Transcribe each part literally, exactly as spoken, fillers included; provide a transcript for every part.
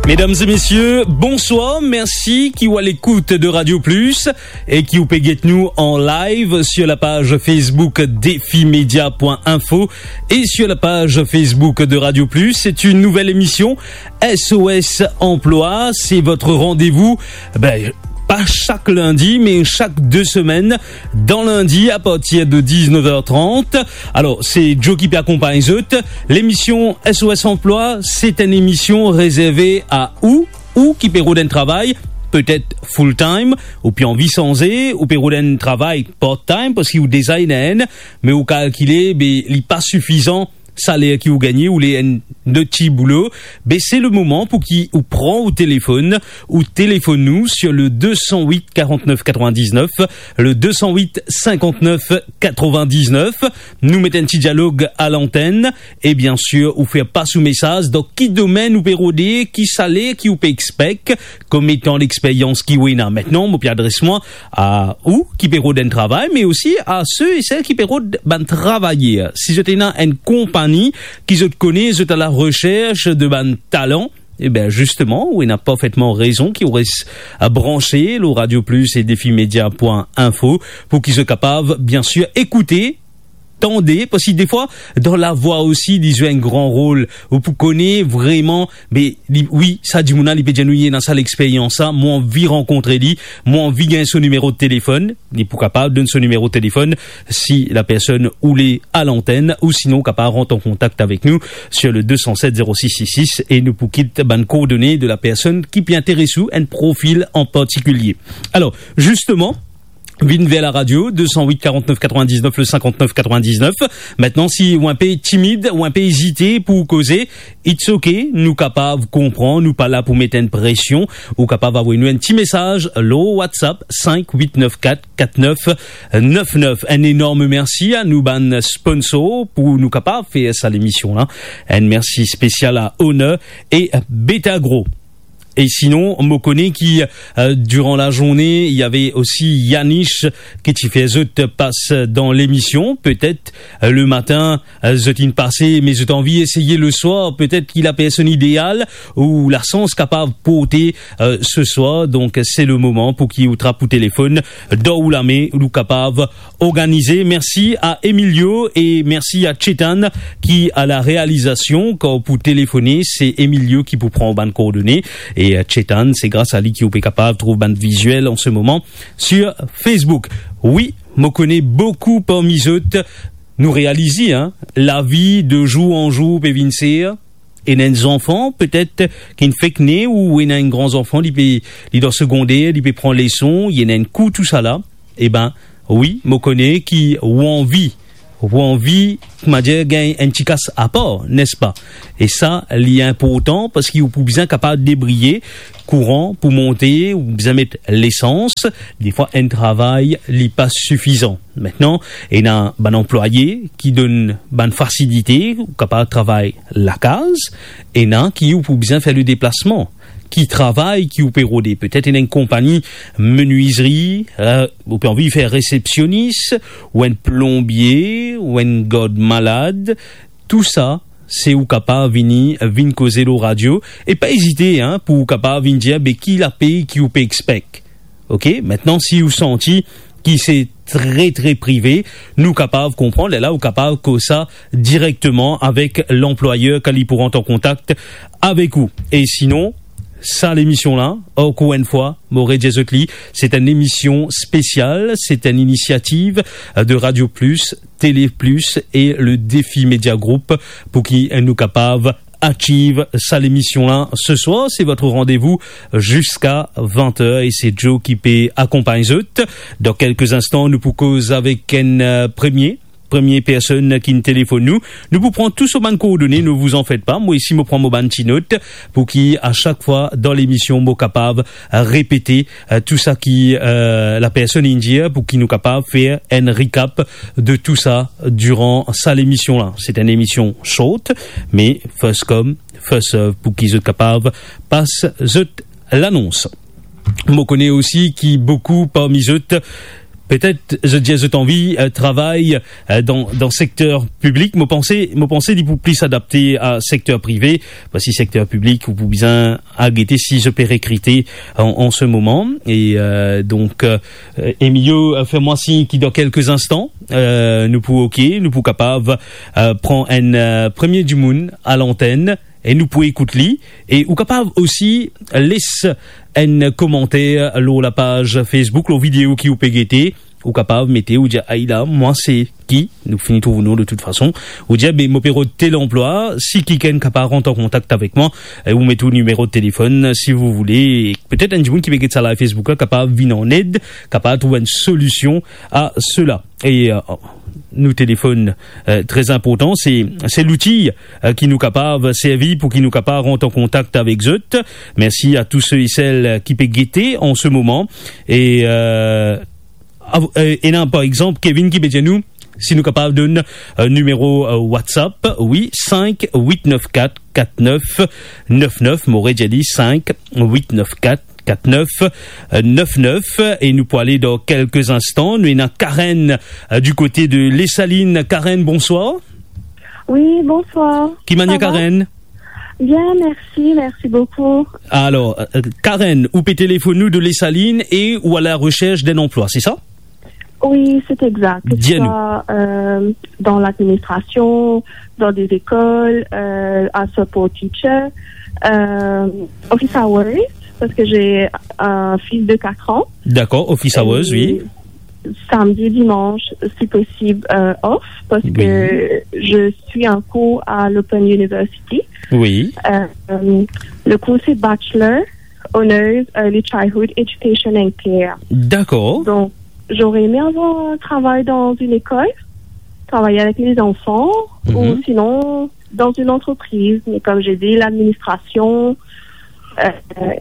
Mesdames et messieurs, bonsoir. Merci ki ou à l'écoute de Radio Plus et ki ou pe get nou en live sur la page Facebook défi média point info et sur la page Facebook de Radio Plus. C'est une nouvelle émission, S O S Emploi. C'est votre rendez-vous, ben, pas chaque lundi, mais chaque deux semaines, dan lindi, à partir de dix-neuf heures trente. Alors, c'est Joe ki pe akonpagn zot. L'émission S O S Emploi, c'est une émission réservée à ou, ou ki pe rod enn travay, petet full time, ou pe anvi sanze, ou pe rod enn travay part time, parski ou deza ena enn, me ou kalkile, be, li pa sifizan, saler ki ou gagne, ou le enn lot ti boulo, be, c'est le moment pou ki ou pran ou telefonn, ou telefonn nou sur le deux cent huit quarante-neuf quatre-vingt-dix-neuf, le deux cent huit cinquante-neuf quatre-vingt-dix-neuf. Nou met enn ti dialog à l'antenne, e bien sûr, ou fer pas ou mesaz, dan ki domenn ou pe rode, ki saler ki ou pe expek, kombien tan d'expérience ki ou ena. Maintenant, mo pe adres mwa a ou ki pe rod enn travay, mais aussi à ceux et celles ki pe rod bann travayer. Si zot ena enn konpagni ki zot kone, zot à la recherche de bann talan, e ben, justement, ou ena parfaitement raison ki ou res, euh, branche lor Radio Plus et défi média point info pou ki zot kapav, bien sûr, écouter, tande, parski defwa, dan lavwa osi, li zwe enn gran rol. Ou pou kone vreman, be, li, wi, sa dimoun la, li pe dir nou, li ena sa lexperians la, mo anvi rankontre li, mo anvi gagn so nimero telefonn. Li pou kapav donn so nimero telefonn si la personn ou le à l'antenne, ou sinon ou kapav rant an kontak avek nou sur le deux cent sept zéro six six six e nou pou kit bann koordone de la personn ki pe interes ou, enn profil an partikilie. Alors, justement, vinn ver la radio, deux cent huit quarante-neuf quatre-vingt-dix-neuf, le cinquante-neuf quatre-vingt-dix-neuf. Maintenant, si ou enpe timid, ou enpe ezite pou koze, it's ok, nou kapav konpran, nou pa la pou met enn presion, ou kapav avoy nou enn ti mesaz lor WhatsApp cinq huit neuf quatre quatre neuf neuf neuf. Enn enorm mersi a nou bann sponsor pou nou kapav fer sa lemision la. Enn mersi spesial a Honor e Betagro. E sinon, mo kone ki, euh, durant la journée, il y avait aussi Yanish ki ti fer zot pas dan lemision. Petet, euh, le matin, euh, zot inn pase, me zot anvi eseye le soir. Petet ki la personn ideal ou la sans kapav porte, euh, ce soir. Donc, c'est le moment pou ki ou trap ou telefonn dan ou lame, ou kapav organize. Mersi a Emilio e mersi a Chetan ki a la realizasion. Kan ou pou telefone, se Emilio ki pou pran bann koordone. E, euh, Chetan, se gras a li ki ou pe kapav trouv bann viziel an se moman sur Facebook. Wi, mo kone boukou parmi zot, nou realize, hein, lavi de zour an zour pe vinn ser. Ena enn zanfan, petet, ki fek ne, ou ena enn gran zanfan, li pe, li dan segonder, li pe pran leson, li ena enn kour, tousala. E ben, wi, mo kone ki ou anvi, ou anvi, koumadir, gagn enn ti kas apar, nespa? E sa, li inportan, parski ou pou bizin kapav debriye, kouran pou monte, ou bizin met lesans. Defwa, enn travay, li pa sifizan. Mintnan, ena bann anplwaye ki donn bann fasilite, ou kapav travay lakaz, ena ki ou pou bizin fer le deplasman. Ki travay ki ou pe rode? Petet ena enn konpagni menizri, euh, ou pe anvi fer resepsionis, ou enn plonbie, ou enn gard malad. Tou sa, se ou kapav vini, vinn koze lor radio. E pa ezite, hein, pou ou kapav vinn dir, be ki lapey ki ou pe expek. Ok, mintnan, si ou santi ki se tre, tre prive, nou kapav konpran, lerla ou kapav koz sa direkteman avek lanplwayer kan li pou rant an kontak avek ou. E sinon, sa lemision la, ankor enn fwa, mo redir zot li, se enn emision spesial, se enn inisiativ de Radio Plus, Télé Plus e le Défi Média Group pou ki nou kapav achieve sa lemision la. Ce soir, c'est votre rendez-vous jusqu'à vingt heures et c'est Joe ki pe akonpagn zot. Dan kelke instan, nou pou koz avek enn, euh, premie, premie personn ki'nn telefonn nou. Nou pou pran tou so bann koordone, ne vous en faites pas. Mwa osi, mo pran mo bann ti not pou ki a chak fwa dan lemision, mo kapav repete, euh, tou sa ki, euh, la personn inn dir, pou ki nou kapav fer enn recap de tou sa diran sa lemision la. Se enn emision short, me first come, first serve, pou ki zot kapav pas zot lanons. Mo kone osi ki boukou parmi zot Petet zot dir zot anvi, eh, travay, eh, dan, dan sekter piblik. Mo panse, mo panse li pou plis adapte a sekter prive, parski sekter piblik, ou pou bizin al gete si zot pe rekrite an, an se moman. E, eh, donk, eh, Emilio, eh, fer mwa sign ki dan kelke instan, eh, nou pou oke, nou pou kapav, eh, pran enn, eh, premie dimoun a lantenn e nou pou ekout li. E ou kapav osi les enn komanter lor lapaz Facebook, lor video ki ou pe gete. Ou kapav mete, ou dir, "Ay la, mwa se ki?" Nou fini trouv ou non de tout fason. Ou dir, "Be, mo pe rod tel anplwa, si kikenn kapav rant an kontak avek mwa," e ou met ou nimero de telefonn, si ou voule. Petet enn dimoun ki pe get sa live Facebook la kapav vinn an ed, kapav trouv enn solision a sela. E, eh, nou telefonn, eh, tre inportan, se, se louti, eh, ki nou kapav servi pou ki nou kapav rant an kontak avek zot. Mersi a tou se e sel, eh, ki pe gete an se moman. E, eh, av-, eh, ena, par exanp, Kevin ki pe dir nou, si nou kapav donn, eh, nimero, eh, WhatsApp, wi, sink wit nef kat kat nef nef nef, mo redir li, sink wit nef kat kat nef nef nef, e nou pou ale dan kelke instan. Nou ena Karen, eh, du kote de Lesalinn. Karen, bonswar. Oui, bonsoir. Ki manier, Karen? Bien, merci, merci beaucoup. Alor, eh, Karen, ou pe telefonn nou de Lesalinn e ou a la recherche d'un emploi, c'est ça? Oui, c'est exact. Que ce soit, euh, dans l'administration, dans des écoles, euh, à support teacher, euh, office hours, parce que j'ai un fils de quatre ans. D'accord, office hours, oui. Samedi, dimanche, si possible, euh, off, parce que je suis en cours à l'Open University. Oui. Euh, le cours, c'est Bachelor Honors Early Childhood Education and Care. D'accord. Donc, j'aurais aimé avoir un travail dans une école, travailler avec les enfants, ou sinon dans une entreprise, mais comme j'ai dit, l'administration. Euh,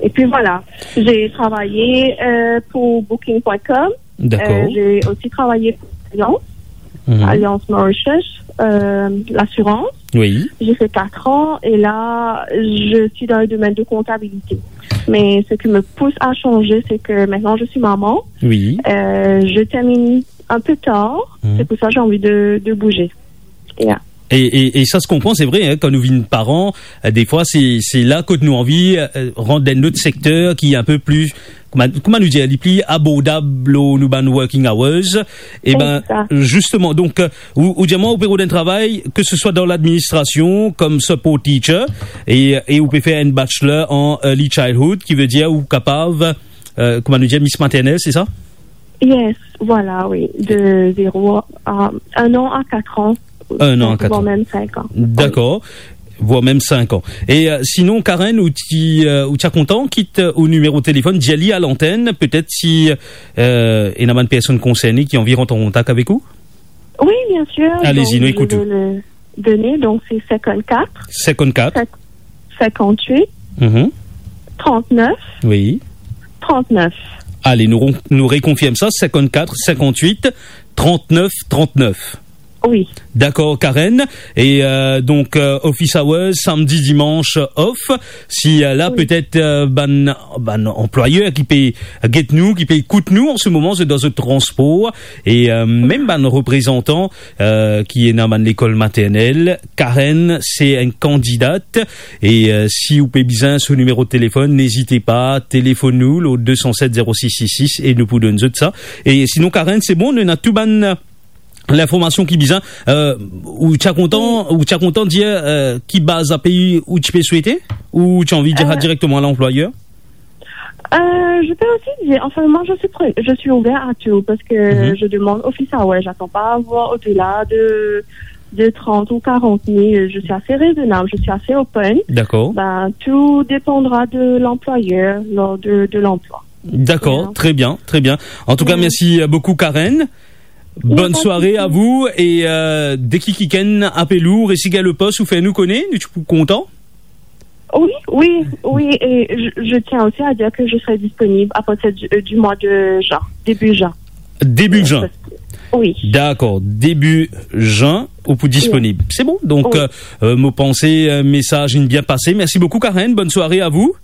et puis voilà, j'ai travaillé, euh, pour booking point com. D'accord. Euh, j'ai aussi travaillé pour l'Alliance, Alliance Mauritius, euh, l'assurance. Oui. J'ai fait quatre ans et là, je suis dans le domaine de comptabilité. Mais ce qui me pousse à changer, c'est que maintenant je suis maman. Oui. Euh, je termine un peu tard. C'est pour ça que j'ai envie de, de bouger. Yeah. E, e, e sa se konpran, se vre, hein, kan nou vinn paran, eh, defwa se, se la kot nou anvi, eh, rant dan enn lot sekter ki inpe pli, kouma, kouma nou dir, li pli abordab lor nou bann working hours. E ben, zisteman, donk, eh, ou, ou dir mwa, ou pe rod enn travay, ke se swa dan ladministrasion, kom support teacher, e, e ou pe fer enn bachelor an early childhood, ki ve dir ou kapav, eh, kouma nou dir, mis maternel, se sa? Yes, voilà, oui. De zéro à un an à quatre ans. Un an à quatre ans. Voire même cinq ans. D'accord. Voire même cinq ans. E, eh, sinon, Karen, ou ti, eh, ou ti a kontan kit, eh, ou nimero telefonn, dir li a lantenn, petet si, eh, ena bann personn konserne ki anvi rant an kontak avek ou? Oui, bien sûr. Allez-y, nou ekout ou. Donc, je vais le donner, donc c'est cinquante-quatre. Cinquante-quatre. Cinq-, cinquante-huit, trente-neuf, trente-neuf. Oui. Ale, nou ron-, nou rekonfirm sa, cinquante-quatre, cinquante-huit, trente-neuf, trente-neuf. Oui. Dakor, Karen. E, eh, donk, eh, office hours, samdi, dimanch, off. Si, eh, la, petet, eh, bann, bann anplwayer ki pe get nou, ki pe ekout nou an se moman, zot dan zot transpor, e, eh, mem bann reprezantan, eh, ki ena bann lekol maternel, Karen se enn kandidat. E, eh, si ou pe bizin so nimero telefonn, nezite pa, telefonn nou lor deux cent sept zéro six six six e nou pou donn zot sa. E sinon, Karen, se bon, nou ena tou bann linformasion ki bizin. Eh, ou ti a kontan, ou ti a kontan dir, eh, ki baz a pey ou ti pe swete, ou ti anvi dir sa direkteman a lanplwayer? Euh, je peux aussi dire, enfin, moi, je suis prêt, je suis ouvert à tout parce que je demande office hours, j'attends pas à avoir au-delà de, de trente ou quarante mille. Je suis assez raisonnable, je suis assez open. D'accord. Ben, tout dépendra de l'employeur lors de, de l'emploi. Dakor, tre bien, tre bien. An tou ka, mersi, eh, boukou, Karen. Bonn sware a vou e, eh, deki kikenn apel ou, resi gagn le pos, ou fer nou kone, nou ti pou kontan. Oui, oui, oui, et je, je tiens aussi à dire que je serai disponible à partir du, euh, du mois de juin, début juin. Début juin. Euh, parce que, oui. Dakor, début juin, ou pou disponib. Se bon, donk, eh, eh, mo panse, eh, mesaz inn bien pase. Mersi boukou, Karen. Bonn sware a vou.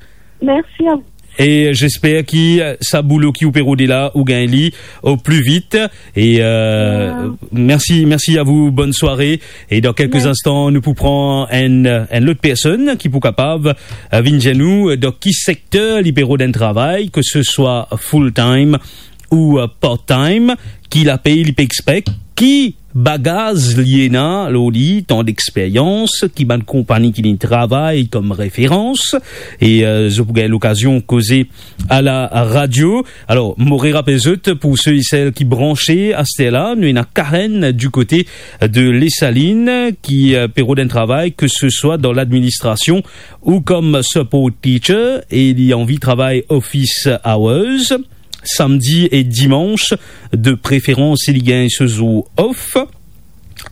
Merci à vous. E j'espère ki, euh, sa boulo ki ou pe rode la, ou gagn li au plus vite. E, euh, mersi, mersi a vou, bonne soirée. E dan kelke instan, nou pou pran enn, enn lot personn ki pou kapav, euh, vinn dir nou, euh, dan ki sekter li pe rod enn travay, ke se swa full time ou, euh, part time, ki lapey li pe expek, ki bagaz li ena lor li, tan d'experience, ki bann konpagni ki li travay kom referans, e, euh, zot pou gagn lokazion koze a la radio. Alor, mo re rapel zot, pou se e sel ki branche aster la, nou ena Karen du kote de Les Salines ki, euh, pe rod enn travay, ke se swa dan ladministrasion ou kom support teacher, e li anvi travay office hours, samdi e dimans, de preferans si li gagn so zour off.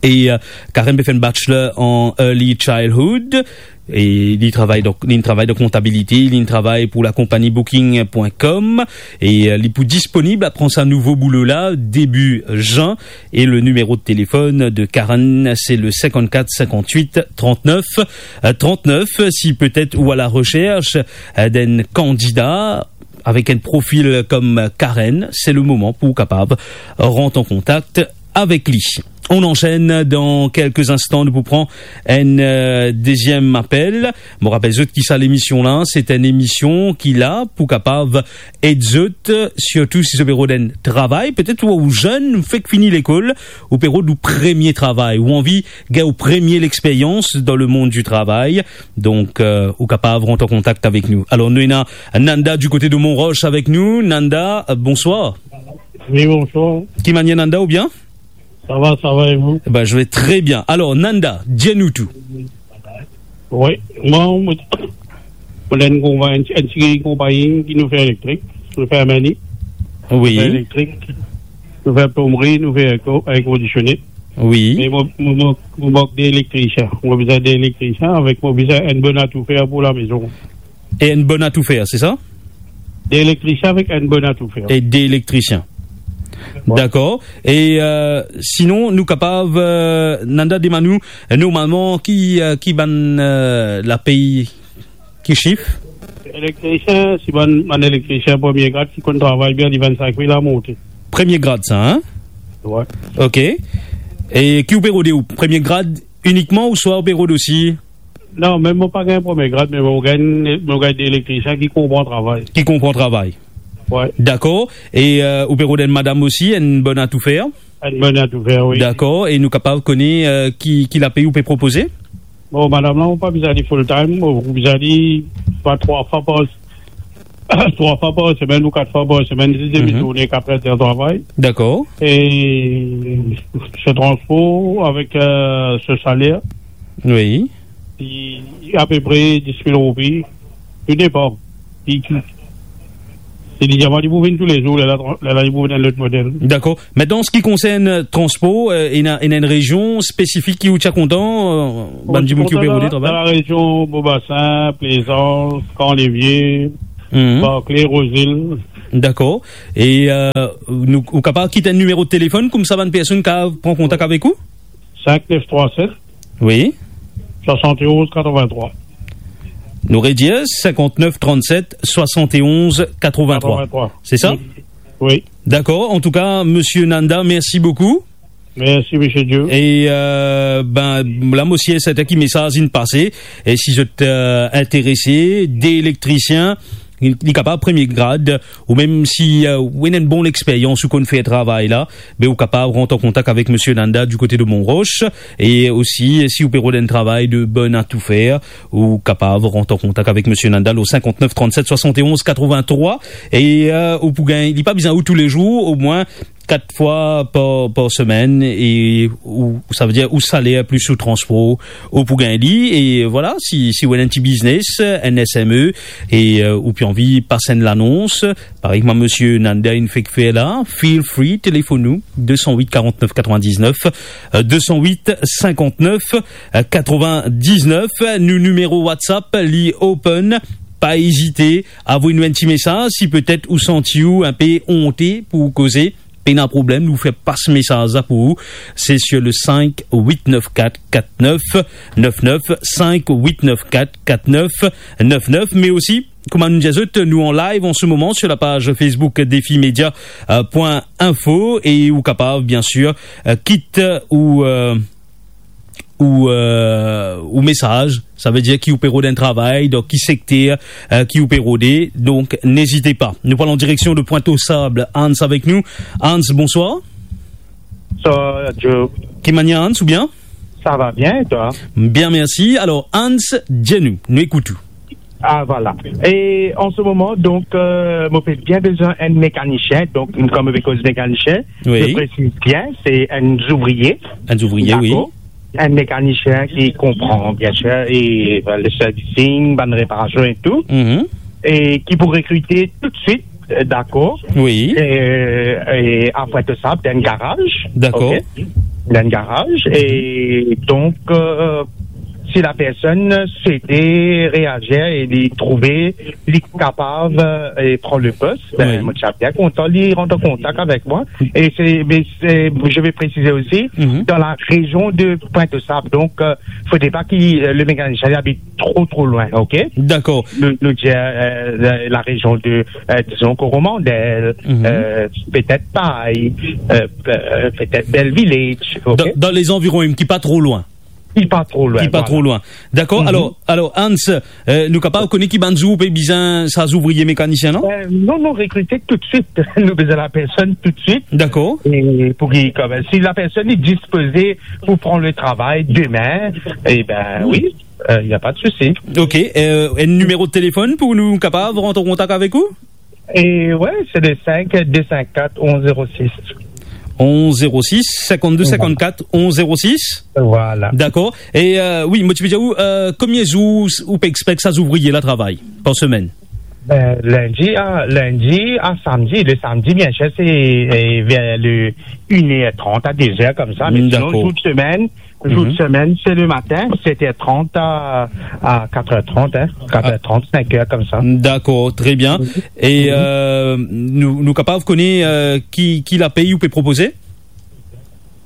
E, euh, Karen pe fer enn bachelor an early childhood. E li travay dan, li travay dan kontabilite, li travay pou lakonpagni booking point com. E, euh, li pou disponib apre sa nouvo boulo la, debi zan. E le nimero de telefonn de Karen, se le cinquante-quatre cinquante-huit trente-neuf trente-neuf. Si petet ou a la recherche, euh, d'un candidat avec un profil comme Karen, c'est le moment pou kapav rant an kontak avek li. On enchaîne dans quelques instants, nou pou pran enn, euh, deziem apel. Mo rapel zot ki sa lemision la, se enn emision ki la pou kapav ed zot, sirtou si zot pe rod enn travay, petet ou, ou zenn, ou fek fini lekol, ou pe rod ou premie travay, ou anvi gagn ou premie lexperyans dan lemond di travay. Donk, euh, ou kapav rant an kontak avek nou. Alor, nou ena Nanda du kote de Montroche avek nou. Nanda, euh, bonswar. Wi, bonswar. Ki manier, Nanda, ou bien? Ça va, ça va, et vous? Ben, je vais très bien. Alors, Nanda, dis-nous tout. Wi, mwa, mo, mo dan enn konpagni, enn ti konpagni ki nou fer elektrik, nou fer mani, Wi. Nou fer elektrik, nou fer plomri, nou fer air co-, air conditionné. Wi. Me mo, mo, mo, mo mank de elektrisien. Mo bizin de elektrisien avek, mo bizin enn bon atoufer pou lamezon. E enn bon atoufer, se sa? De elektrisien avek enn bon atoufer. E de elektrisien. Wi. Dakor. E, euh, sinon, nou kapav, euh, Nanda, demann nou, euh, normalman, ki, euh, ki bann, euh, lapey, ki sif? Elektrisien, si bann, bann elektrisien premie grad ki konn travay bien, li vennsenk mil a monte. Premie grad sa, hein? Wi. Ok. E ki ou pe rode ou? Premie grad inikman ouswa ou pe rod osi? Non, mem mo pa gagn premie grad, me mo gagn, mo gagn de elektrisien ki konpran travay. Ki konpran travay. Wi. Dakor. E, euh, ou pe rod enn madam osi, enn bon atoufer? Enn bon atoufer, wi. Dakor. E nou kapav kone, euh, ki, ki lapey ou pe propoze? Bon, madam la, mo pa bizin li full time, mo bizin li pa trwa fwa par, trwa fwa par semenn ou kat fwa par semenn, si demi Mhm. tourne, kat er de travay. Dakor. E so transpor avek, euh, so saler. Wi. Li apepre dis mil roupi. Tou depan. Li, li, se li dir mwa li pou vinn toulezour, lerla, lerla li pou vinn enn lot model. Dakor. Aster, an se ki konsern, euh, transpor, euh, ena, ena enn rezion spesifik ki ou ti a kontan, euh, bann dimoun ki ou pe rode travay? Dan larezion Beau Bassin, Plaisance, Camp Levier, Mhm. Barclay, Rose Hill. Dakor. E, euh, nou, ou kapav kit enn nimero telefonn, koumsa bann personn kapav pran kontak avek ou? Cinq neuf trois sept. Wi. Soixante et onze quatre-vingt-trois. Nou redir, cinquante-neuf trente-sept soixante et onze quatre-vingt-trois. Quatre-vingt-trois. Se sa? Wi. Wi. Dakor. Antouka, Monsieur Nanda, mersi boukou. Mersi, Monsieur Dieu. E, euh, ben, la, mo sir serten ki mesaz inn pase. E si zot, euh, interese, de elektrisien, li, li kapav premie grad, ou mem si, euh, ou ena enn bon lexperyans, ou konn fer travay la, be ou kapav rant an kontak avek Monsieur Nanda du kote de Montroche, e osi, si ou pe rod enn travay de bon atoufer, ou kapav rant an kontak avek Monsieur Nanda lor cinquante-neuf trente-sept soixante et onze quatre-vingt-trois, e, euh, ou pou gagn, li pa bizin ou toulezour, omwin kat fwa par, par semenn, e ou, sa ve dir ou saler plis ou transpor, ou pou gagn li, e vwala, si, si ou ena enn ti biznes, enn S M E, e, euh, ou pe anvi pas enn lanons, parey kouma Monsieur Nanda inn fek fer la, feel free, telefonn nou, deux cent huit quarante-neuf quatre-vingt-dix-neuf, euh, deux cent huit cinquante-neuf quatre-vingt-dix-neuf, nou nimero WhatsApp, li open, pa ezite, avoy nou enn ti mesaz, si petet ou santi ou inpe onte pou koze, pena problem, nou fer pas mesaz la pou ou. Se sur le cinq huit neuf quatre quatre neuf neuf neuf, cinq huit neuf quatre quatre neuf neuf neuf, me osi, kouma nou dir zot, nou an live an se moman sur la paz Facebook Défi Média, euh, point info, e ou kapav, bien sir, euh, kit ou, euh, ou, euh, ou mesaz, sa ve dir ki ou pe rod enn travay, dan ki sekter, euh, ki ou pe rode, donk n'ezit pa. Nou pral an direksion de Pointe aux Sables, Hans avek nou. Hans, bonswar. Sa, Joe. Ki manier, Hans, ou bien? Ça va bien, et toi? Bien, mersi. Alor, Hans, dir nou, nou ekout ou. Ah, voilà. E an se moman, donk, euh, mo pe bien bizin enn mekanisien. Donk, kom mo pe koz mekanisien, wi, je précise bien, se enn zouvriye. Enn zouvriye, wi. Dakor? Enn mekanisien ki konpran, bien sir, e, euh, le servicing, bann reparasion e tou. Mhm. E ki pou rekrite toutswit, euh, dakor? Wi. E, e apre tou sa, dan enn garaz. Dakor. Ok? Dan enn garaz. E donk, euh, si la personn swete reazir e li trouve li kapav, euh, e pran le pos, ben, wi, mo ti a bien kontan li rant an kontak avek mwa. E se, me se, je vais préciser aussi, mhm, dans la région de Pointe-aux-Sables. Donc, euh, faudrait pas que, euh, le mécanicien habite trop, trop loin, ok? Dakor. Nou, nou dir, euh, la, la région de, euh, disons, Coromandel, mhm, euh, peut-être Paille, euh, pe-, euh, peut-être Bell Village, ok? Dan, dan lezanviron, ki pa tro lwin. Ki pa tro lwin, voilà. Ki pa tro lwin. Dakor. Mhm. Alor, alor, Hans, euh, nou kapav kone ki bann zour ou pe bizin sa zouvriye mekanisien, non? Euh, non, nou rekrite toutswit. Nou bizin la personn toutswit. Dakor. E pou ki, kom, si la personn li dispoze pou pran le travay demin, e ben, wi, euh, y a pas de souci. Ok, euh, enn nimero telefonn pou nou kapav rant an kontak avek ou? E wi, se le cinq deux cinq quatre onze zéro six. Onze zéro six, cinquante-deux cinquante-quatre, onze zéro six. Voilà. Dakor. E, euh, wi, mo ti pe dir ou, euh, konbien zour ou pe expek sa zouvriye la travay par semenn? Ben, lindi a, lindi a samdi. Le samdi, bien sir, se, euh, ver le une heure trente a deux heures, komsa. Me sinon, dakor, zour de semenn, zour de semenn, se le matin, sept heures trente à, à quatre heures trente, hein, quatre heures trente, cinq heures, komsa. Dakor, tre bien. E, euh, nou, nou kapav kone, euh, ki, ki lapey ou pe propoze?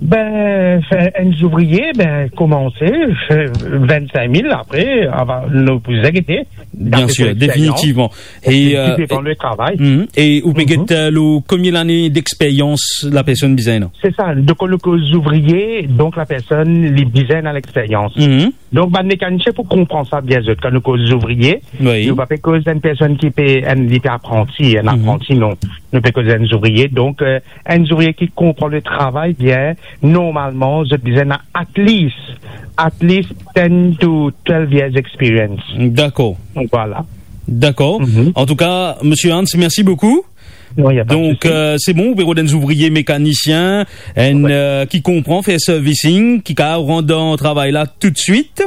Ben, enn zouvriye, ben, komanse, euh, vingt-cinq mille, apre, ava, nou pou zagete. Bien sir, definitivman. E, euh, depann le travay. Mhm. E ou pe get, euh, lo konbien lane dexperyans la personn bizin, non? Se sa. Donk, kan nou koz zouvriye, donk la personn, li bizin ena lexperyans. Mhm. Donk, bann mekanisien pou konpran sa bien zot. Kan nou koz zouvriye, wi, nou pa pe koz enn personn ki pe, enn, li pe apranti, enn apranti, non. Nou pe koz enn zouvriye. Donk, euh, enn zouvriye ki konpran le travay bien, normalman, zot bizin ena at least, at least ten to twelve years experience. Dakor. Donk, voilà. Dakor. Mhm. Antouka, Misie Hans, mersi boukou. Non, y a pas de souci. Donk, euh, se bon, ou pe rod enn zouvriye mekanisien, enn, euh, ki konpran fer servicing, ki kapav rant dan travay la toutswit,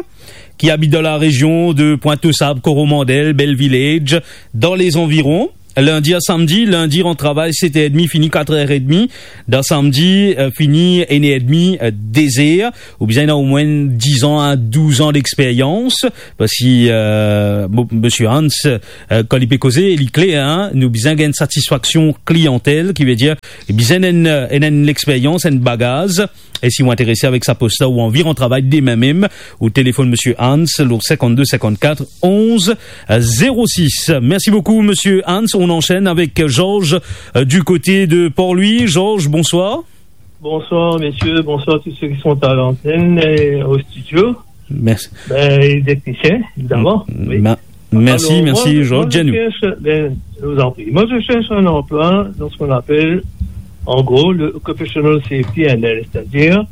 ki abit dan la rezion de Pointe-aux-Sables, Coromandel, Bell Village, dan lezanviron. Lindi a samdi, lindi rant travay set er edmi, fini kat er edmi. Dan samdi, euh, fini enn er edmi, euh, de zer. Ou bizin ena omwin dizan a douzan dexperyans. Parski, euh, bon, Misie Hans, euh, kan li pe koze, li kler, hein, nou bizin gagn satisfaksion kliantel, ki ve dir, li bizin enn, enn, enn lexperyans, enn bagaz. E si ou interese avek sa pos la, ou anvi rant travay demin mem, ou telefonn Misie Hans, lo cinquante-deux cinquante-quatre onze zéro six. Merci beaucoup, Monsieur Hans. On enchaîne avec Georges, euh, du côté de Port-Louis. Georges, bonsoir. Bonsoir, messieurs. Bonsoir tous ceux qui sont à l'antenne et au studio. Merci. Ben, et les techniciens, évidemment. M-, oui. Ma-, merci, alors, merci, moi, Georges. Moi, je cherche, ben, je vous en prie. Moi, je cherche un emploi dans ce qu'on appelle, en gros, le Occupational Safety and Health, c'est-à-dire,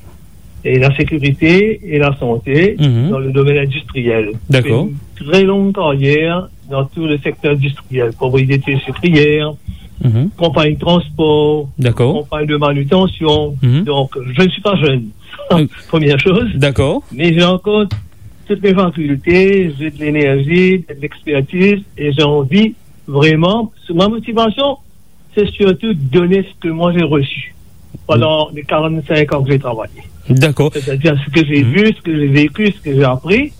et la sécurité et la santé, mhm, dans le domaine industriel. D'accord. J'ai une très longue carrière dans tout le secteur industriel, propriété sucrière, mhm, compagnie de transport, d'accord, compagnie de manutention. Mhm. Donc, je ne suis pas jeune. Oui. Première chose. D'accord. Mais j'ai encore toutes mes facultés, j'ai de l'énergie, de l'expertise et j'ai envie vraiment, c'est ma motivation, c'est surtout de donner ce que moi j'ai reçu pendant les quarante-cinq ans que j'ai travaillé. D'accord. C'est-à-dire ce que j'ai, mhm, vu, ce que j'ai vécu, ce que j'ai appris.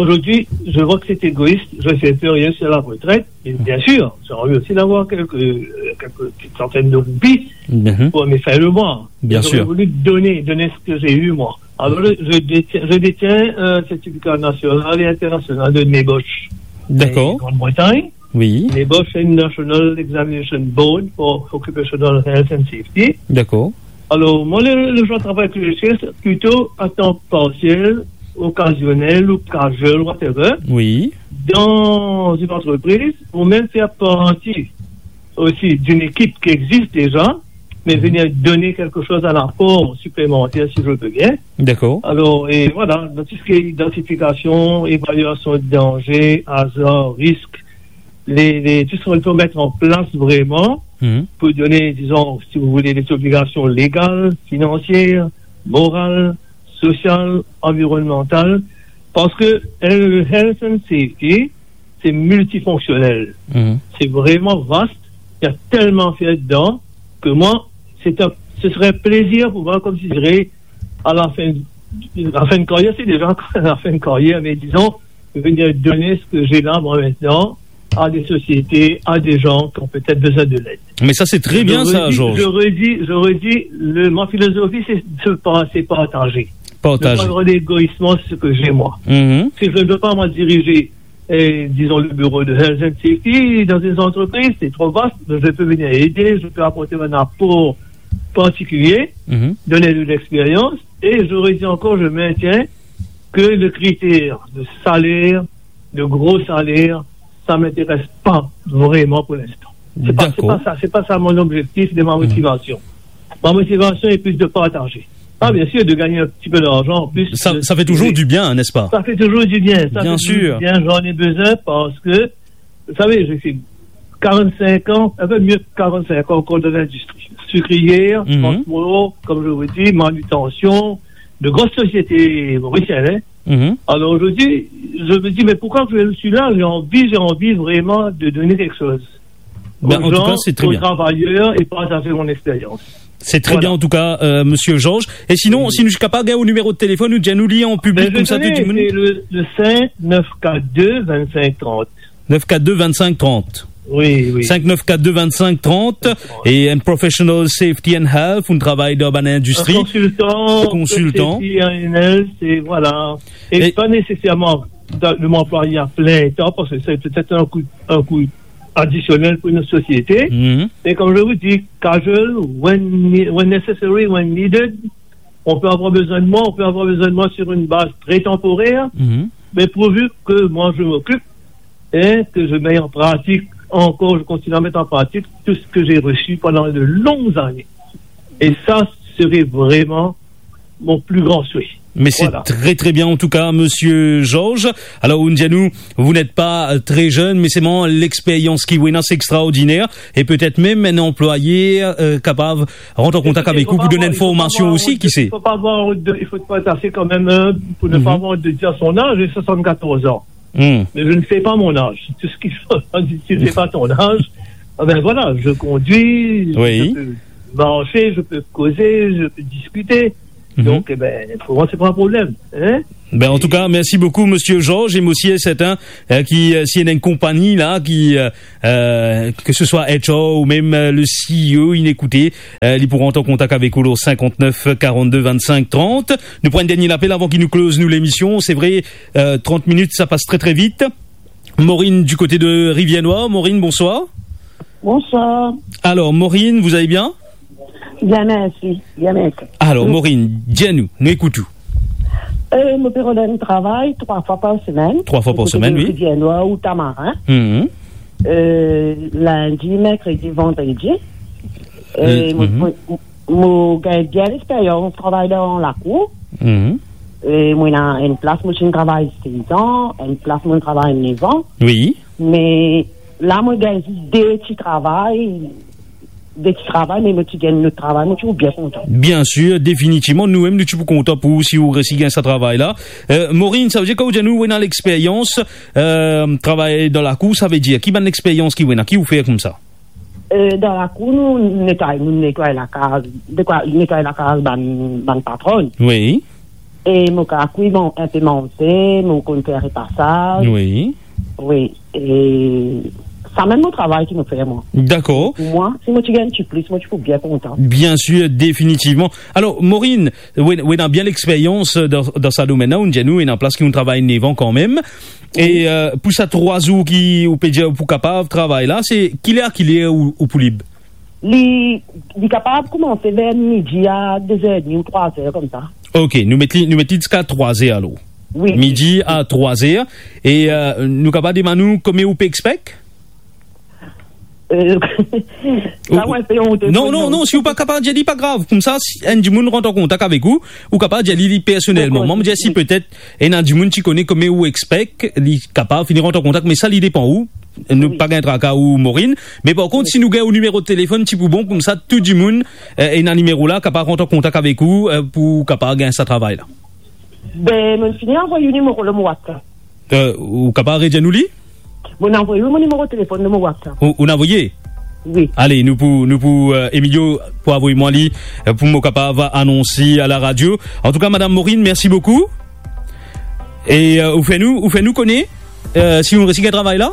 Aujourd'hui, je vois que c'est égoïste, je ne fais plus rien sur la retraite. Et bien sûr, j'ai envie aussi d'avoir quelques, euh, quelques petites centaines de roupies Mhm. pour me faire le mois. Bien sûr. J'aurais voulu donner, donner ce que j'ai eu, moi. Alors, je, je détiens, je détiens un certificat national et international de NEBOSH. D'accord. En Grande-Bretagne. Oui. NEBOSH, c'est une National Examination Board for Occupational Health and Safety. D'accord. Alors, moi, le, le genre de travail que je cherche, c'est plutôt à temps partiel, occasionnel ou casual, whatever, Oui. dans une entreprise, ou même faire partie aussi d'une équipe qui existe déjà, mais Mhm. venir donner quelque chose à l'apport supplémentaire, si je peux bien. D'accord. Alors, et voilà, dans tout ce qui est identification, évaluation de danger, hasard, risque, les, les, tout ce qu'on peut mettre en place vraiment Mhm. pour donner, disons, si vous voulez, des obligations légales, financières, morales, sociales, environnementales, parce que, euh, le health and safety, c'est multifonctionnel. Mhm. C'est vraiment vaste. Il y a tellement à faire dedans que moi, c'est un, ce serait un plaisir pour moi, comme je dirais, à la fin, à la fin de carrière, c'est déjà à la fin de carrière, mais disons, venir donner ce que j'ai là, moi, maintenant, à des sociétés, à des gens qui ont peut-être besoin de l'aide. Mais ça, c'est très bien, ça, Georges. Je redis, je redis, je redis, le, ma philosophie, c'est de se pa-, c'est partager. Partager. Ne pas avoir d'égoïsme, c'est ce que j'ai, moi. Mhm. Si je ne veux pas, moi, diriger, eh, disons, le bureau de Health and Safety dans une entreprise, c'est trop vaste, mais je peux venir aider, je peux apporter un apport particulier, Mhm. donner de l'expérience, et je redis encore, je maintiens que le critère de salaire, de gros salaire, ça m'intéresse pas vraiment pour l'instant. C'est pas, c'est D'accord. pas ça, c'est pas ça mon objectif de ma Mhm. motivation. Ma motivation est plus de partager. Ah, bien sûr, de gagner un petit peu d'argent en plus Ça, de ça fait toujours du bien, n'est-ce pas ? Ça fait toujours du bien, ça Bien fait toujours sûr. du bien, j'en ai besoin parce que, vous savez, j'ai fait quarante-cinq ans, un peu mieux que quarante-cinq ans encore dans l'industrie. Sucrière, Mhm. transport, comme je vous dis, manutention, de grosses sociétés mauriciennes, hein. Mhm. Alors aujourd'hui, je me dis, mais pourquoi je suis là ? J'ai envie, j'ai envie vraiment de donner quelque chose aux Ben, en tout gens, cas, c'est très aux bien. travailleurs et partager mon expérience. C'est très Voilà. bien, en tout cas, euh, monsieur Georges. Et sinon, Oui. si nou kapav gagn ou nimero de telefon, ou dir nou li an piblik, Ben, je koumsa, tout connais, dimoun. C'est le, le cinq neuf quatre deux vingt-cinq trente. Neuf quatre deux vingt-cinq trente. Oui, oui. Cinq neuf quatre deux vingt-cinq trente. Et un professional safety and health, ou travay dan bann indistri. Un consultant, Consultant. Safety and health, et voilà. Et Et pas nécessairement dans, de m'employer à plein temps, parce que c'est peut-être un coût, un coût additionnel pour une société. Mhm. Et comme je vous dis, casual, when ne-, when necessary, when needed, on peut avoir besoin de moi, on peut avoir besoin de moi sur une base très temporaire, Mhm. mais pourvu que moi je m'occupe et que je mets en pratique encore, je continue à mettre en pratique tout ce que j'ai reçu pendant de longues années. Et ça serait vraiment mon plus grand souhait. Mais c'est Voilà. très, très bien, en tout cas, monsieur Georges. Alors, ou dir nou, vous n'êtes pas, euh, très jeune, mais seulement l'expérience ki ou ena, c'est extraordinaire. Et peut-être même un employé, euh, kapav rant an kontak avek ou pou donn enn formasion osi, ki se. Il faut pas avoir honte de, il faut pas être assez quand même humble pour ne pas Mhm. avoir honte de dire son âge, j'ai soixante-quatorze ans. Hmm. Mais je ne sais pas mon âge. Tout ce qu'il faut, si tu ne sais pas ton âge, ah ben voilà, je conduis, Oui. je peux marcher, je peux causer, je peux discuter. Mhm. Donc, eh ben, pour moi, c'est pas un problème, hein. Ben, en tout cas, merci beaucoup, monsieur Georges. E mo sir e serten, euh, ki, euh, si ena enn konpagni la, ki, euh, euh, que ce soit H R ou même, euh, le C E O, inn ekoute, euh, li pou rant an kontak avek ou lor cinquante-neuf quarante-deux vingt-cinq trente. Nou pran enn dernie lapel avan ki nou close nou lemision. Se vre, euh, trente minit, sa pas tre, tre vit. Maureen du côté de Rivière-Noire. Maureen, bonsoir. Bonsoir. Alors, Maureen, vous allez bien ? Bien, merci. Bien, merci. Alors, Maureen, dir nou, nou ekout ou. Euh, mo pe rod enn travay trwa fwa par semenn. Trwa fwa par semenn, wi. Rivière-Noire ou Tamarin. Mhm. Euh, lindi, merkredi, vandredi. Euh, Euh, mo, mhm. mo, mo gagn bien lexperyans, travay dan lakour. Mhm. Euh, mo ena enn plas, mo ti travay sez an, enn plas, mo travay nef an. Wi. Me la, mo gagn zis de ti travay, de ti travay, me mo ti gagn lot travay, mo ti bien kontan. Bien sir, definitivman, nou mem, nou ti pou kontan pou ou si ou resi gagn sa travay la. Euh, Maureen, savedir kan ou dir nou ou ena lexperyans, euh, travay dan lakour, savedir, ki bann lexperyans ki ou ena, ki ou fer koumsa? Euh, dan lakour, nou netway, nou netway lakaz, dekwa, netway lakaz bann, bann patronn. Wi. E mo kapav kwi, bon, inpe manze, mo konn fer repasaz. Wi. Wi, e sa mem mo travay ki mo fer, mwa. Dakor. Pou mwa, si mo ti gagn ti plis, mo ti pou bien kontan. Bien sir, definitivman. Alor, Maureen, ou, ou ena bien lexperyans dan, dan sa domenn la, ou dir nou, ena plas ki ou travay nef an kanmem. E, euh, pou sa trwa zour ki ou pe dir ou pou kapav travay la, se ki ler a ki ler ou, ou pou lib? Li, li kapav koumanse ver midi a de zer edmi ou trwa zer koumsa. Ok, nou met li, nou met li ziska trwa zer alor. Wi. Midi a trwa zer. E, euh, nou kapav demann ou komie ou pe expect? Euh, sa, ou, ou, mwa, se onte non, pou non, non, si ou pa kapav dir li, pa grav. Koumsa, si enn dimoun rant an kontak avek ou, ou kapav dir li, li personelman. Dakor. Mwa, mo dir si, wi, petet ena dimoun ti kone komie ou expect, li kapav fini rant an kontak, me sa, li depan ou. Nou, wi, pa gagn traka ou, Maureen. Me par kont, wi, si nou gagn ou nimero telefonn, ti pou bon, koumsa, tou dimoun, euh, ena nimero la, kapav rant an kontak avek ou, euh, pou kapav gagn sa travay la. Be, mo finn avoy ou nimero lor mo WhatsApp. Euh, ou kapav redir nou li? Mo avoy ou mo nimero telefonn lor mo WhatsApp. Ou, ou avoy? Wi. Ale, nou pou, nou pou, euh, Emilio pou avoy mwa li, euh, pou mo kapav anonse a laradio. Antouka, Madam Maureen, mersi boukou. E, euh, ou fer nou, ou fer nou kone, euh, si ou resi gagn travay la.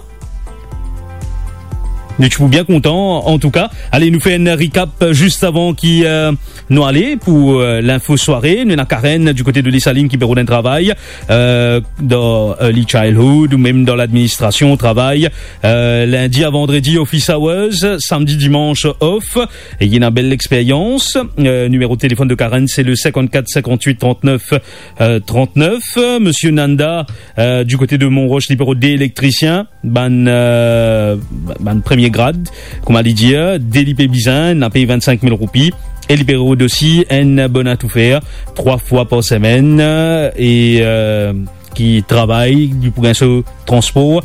Nou ti pou bien kontan, antouka. Ale, nou fer enn recap zis avan ki, euh, nou ale pou, euh, linfo sware. Nou ena Karen di kote de Desalin ki pe rod enn travay, euh, dan, euh, early childhood ou mem dan ladministrasion, travay, euh, lindi a vandredi, office hours, samdi, dimans, off. E li ena bel lexperyans. Euh, nimero telefonn de Karen, se le sinkant-kat sinkant-wit trant-nef, euh, trant-nef. Misie Nanda, euh, di kote de Monroche, li pe rod de elektrisien, bann, euh, bann premie grad, kouma li dir, de li pe bizin, ena pey vinn-sink mil roupi, e li pe rod osi enn bona toufer, trwa fwa par semenn, e, euh, ki travay, li pou gagn so transpor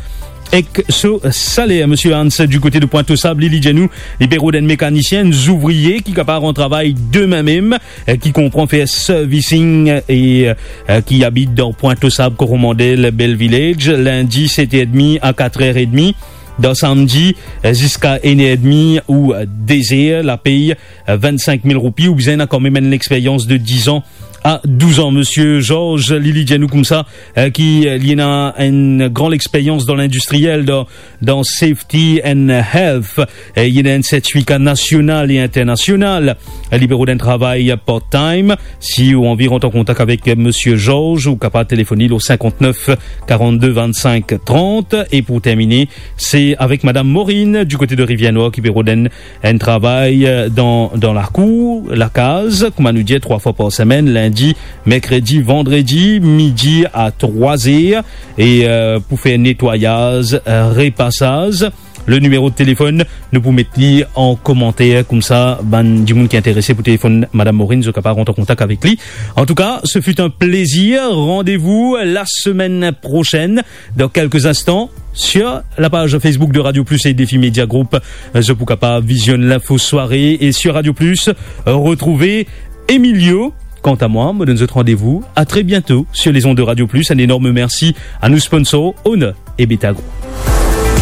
ek so saler. Misie Hans, di kote de Pointe aux Sables, li, li dir nou, li pe rod enn mekanisien, enn zouvrie ki kapav rant travay demin mem, eh, ki konpran fer servicing e, eh, ki abit dan Pointe aux Sables, Coromandel, Bell Village, lindi set er edmi a kat er edmi, dan samdi, eh, ziska enn er edmi ou, eh, de zer, lapey, eh, vinn-sink mil roupi, ou bizin ena kanmem enn lexperyans de diz an a douz an. Misie Georges, li, li dir nou koumsa, eh, ki, eh, li ena enn gran lexperyans dan lindistriel, dan dan Safety and Health. Eh, li ena enn sertifika nasional e internasional. Eh, li pe rod enn travay part-time. Si ou anvi rant an kontak avek Misie Georges, ou kapav telefonn li o sinkant-nef karant-de vinn-sink trant. E pou termine, se avek Madam Maureen, di kote de Rivière-Noire, ki pe rod enn, enn travay, eh, dan, dan lakour, lakaz, kouma nou dir, trwa fwa par semenn, lindi, merkredi, vandredi, midi a trwa zer, e, eh, pou fer netwayaz, eh, repasaz. Le nimero telefonn, nou pou met li an komanter, koumsa bann dimoun ki interese pou telefonn Madam Maureen, zot kapav rant an kontak avek li. Antouka, ce fut un plaisir. Rendez-vous la semaine prochaine, dans quelques instants, sur la page Facebook de Radio Plus et Défi Média Group. Zot pou kapav vizionn linfo sware e sur Radio Plus, retrouve Emilio. Kanta mwa, mo donn zot randevou a tre biento sur les ondes de Radio Plus. Enn enorm mersi a nou sponsor, Honor e Betagro.